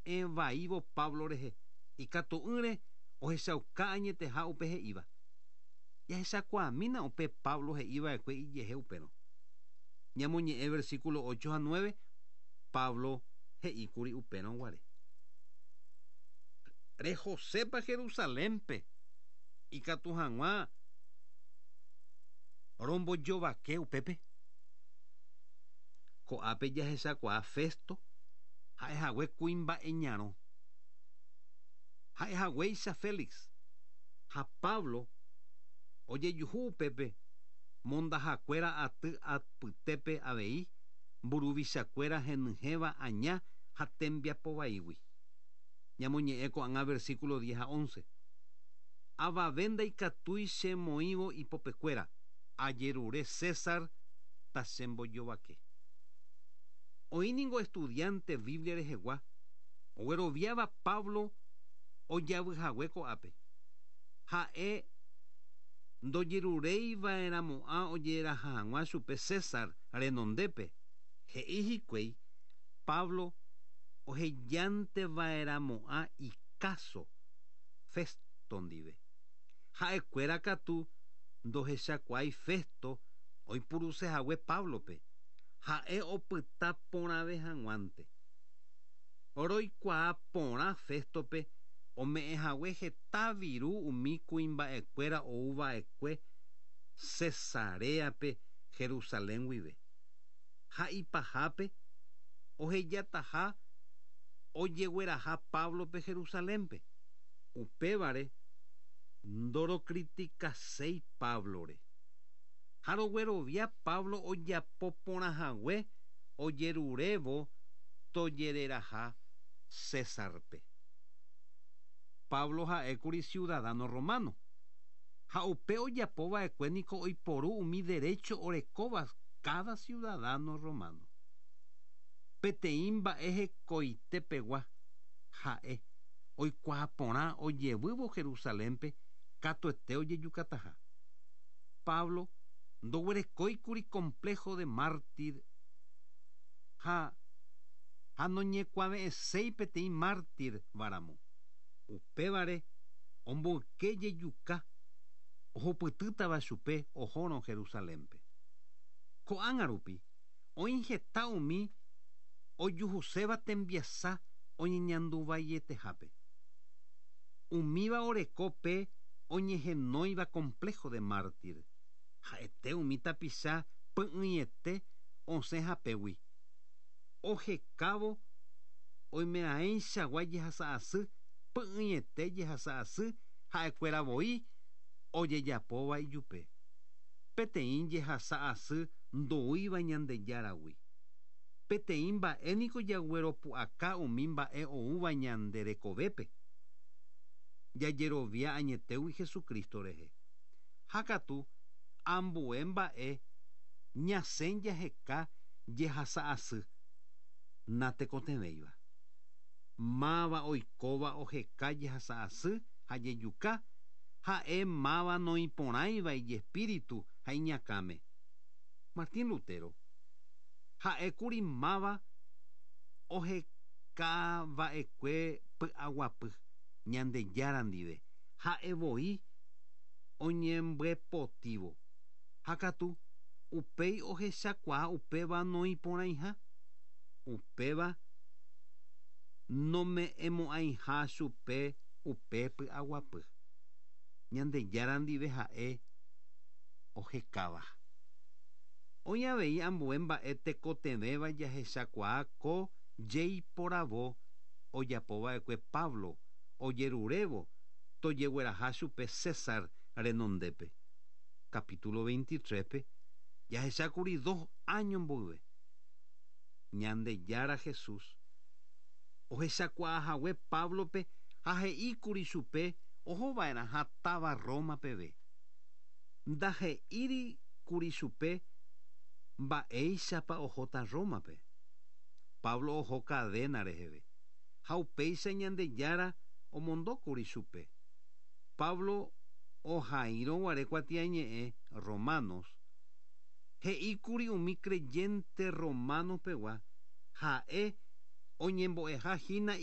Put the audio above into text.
oñe'ẽ vaívo Pablo rehe, ikatu'ỹre ohechauka añeteha upe he'íva. Jahechakuaamína upe Pablo he'iva'ekue ijehe upérõ. Ñamoñe'ẽ versículo 8 ha 9, Pablo he'íkuri upérõ guare. Rehosépa Jerusalénpe ikatu hag̃ua rombojovake upépe. Ko'ápe jahechakuaa Festo ha'ehague kuimba'e ñarõ. Ha'ehaguéicha Félix ha Pablo ojejuhu upépe mondahakuéra aty apytépe avei mburuvichakuéra henyhẽva aña ha tembiapovaígui. Ñamoñe'ẽ ko'ág̃a versículo 10 ha 11. Avave ndaikatúi chemoĩvo ipopekuéra, ajerure César tachembojovake. Oĩ ningo estudiante Biblia rehegua, ogueroviáva Pablo ojavyhague ko'ápe. Ha'e ndojerureiva'erãmo'ã ojeraha hag̃ua chupe César renondépe. He'i hikuái Pablo ohejanteva'erãmo'ã ikáso Festo ndive. Ha'ekuéra katu ndohechakuaái Festo oipurusehague Pablope. Ha'e opyta porãve hag̃uánte. Roikuaa porã Festope ome'ẽhague heta viru umi kuimba'ekuéra ouva'ekue Cesareape Jerusalén guive. Ha ipahápe ohejataha ojegueraha Pablope Jerusalénpe. Upévare ndorokritikaséi Pablore. Ha roguerovia Pablo ojapo porãhague ojerurévo tojereraha Césarpe. Pablo ha'ékuri ciudadano romano. Ha upe ojapova'ekue niko oiporu umi derecho orekóva cada ciudadano romano. Peteĩ mba'e hekoitepegua ha'e oikuaa porã ojevývo Jerusalénpe katuete ojejukataha. Pablo ndoguerekóikuri complejo de mártir ha ha noñekuave'ẽséi peteĩ mártir varamo. Upévare omboyke jejuka ohupytýtava chupe ohórõ Jerusalénpe. Ko'ág̃a rupi oĩ heta umi ojuhuséva tembiasa oñeñanduvaietehápe. Umíva oreko pe oñehenóiva complejo de mártir. Ha'ete umi tapicha py'ỹiete osẽ hapégui. Ohekávo oimeraẽichagua jehasa'asy py'ỹiete jehasa'asy ha'ekuéra voi ojejapóva ijupe. Peteĩ jehasa'asy ndoúiva Ñandejáragui. Peteĩ mba'e niko jagueropu'aka umi mba'e oúva ñande rekovépe. Jajerovia añetégui Jesucristo rehe. Ha katu ambue mba'e ñasẽ jaheka jehasa'asy natekotevẽiva. Máva oikóva oheka jehasa'asy ha jejuka ha'e máva noĩporãiva ijespíritu ha iñakãme. Martín Lutero ha'ékuri máva ohekava'ekue py'aguapy Ñandejára ndive ha'evoi oñembyepotívo. Ha katu upéi ohechakuaa upéva noĩporãiha. Upéva nome'ẽmo'ãiha chupe upe py'aguapy. Ñandejára ndive ha'e ohekáva. Oĩ avei ambue mba'e tekotevẽva jahechakuaa ko jeiporavo ojapova'ekue Pablo ojerurévo tojegueraha chupe César renondépe. Capítulo 23-pe jahechákuri 2 año mboyve. Ñandejára Jesús ohechakuaahague Pablope ha he'íkuri chupe ohova'erãha táva Roma peve. Ndahe'íri kuri chupe mba'éichapa ohóta Rómape. Pablo oho cadena reheve ha upéicha Ñandejára omondókuri chupe. Pablo ohaírõ guare kuatiañe'ẽ Romanos he'íkuri umi creyente romano pegua ha'e oñembo'eha hína.